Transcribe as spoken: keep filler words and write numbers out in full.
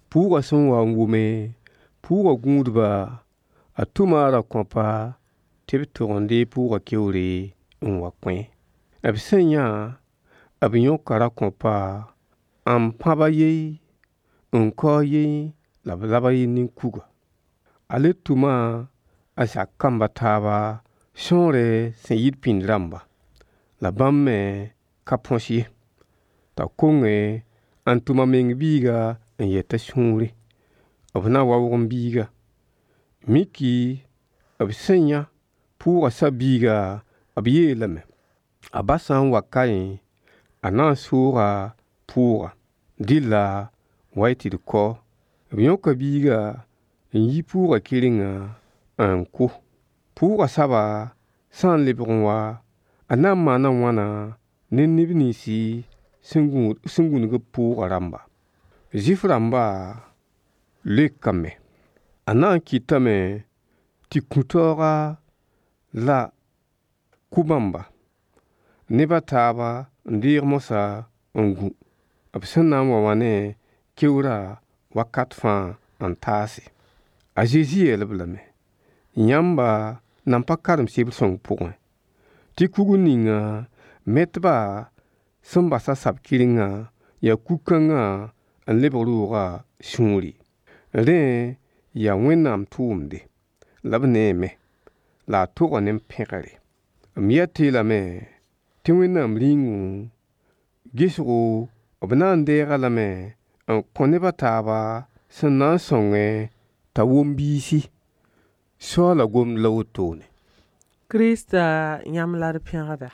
Pʋʋgã sẽn wa n wʋme pʋʋgã gũudba, a tʋma a ra-kõapa tɩ b tog n deeg pʋʋgã keoore n wa kõ-e. B sẽn yã, b yõka ra-kõapa n pãb a yen, n kao a yen la b lab a yen ne kuga. A le tʋma a zak kamb a taaba sõore sẽn yit pĩnd rãmba, la bãmb me ka põs ye. T'a konge n tʋm a meng biiga n yet a sũurẽ: b na waoog m biiga. Miki b sẽn yã pʋʋgã sab-biiga, b yeelame: a ba sã n wa kaẽ, a na n sooga pʋʋga. Dɩlla wa-y tɩ d kao. B yõka biiga n yi pʋʋgã kɩrenga n kʋ. Pʋʋgã saba sã n lebg n wa, a na n maana wãna ne neb nins sẽn gũnug b pʋʋgã rãmba? Zuif-rãmba leokame: A na n kɩtame tɩ kũ-taooga la kʋ bãmba, neb a taaba n deeg moasã n gũ, b sẽn na n wa wã ne keoorã wakat fãa n taase. A Zezi yeel-b lame: Yãmba nan pa karem sebr sõng pʋgẽ, tɩ kugr ninga metbã sẽn basa sab-kɩrengã yaa kug-kãngã n lebg roogã sũuri. Rẽ yaa Wẽnnaam tʋʋmde, la b neeme, la a toga ne pẽgre. M yet-y lame tɩ Wẽnnaam Rĩungu gesgo b na n deeg-a lame n kõ neb a taaba sẽn na n sõngẽ t'a wom biisi. Soaala gomd la wotone. Krista yãmb la d pẽgda.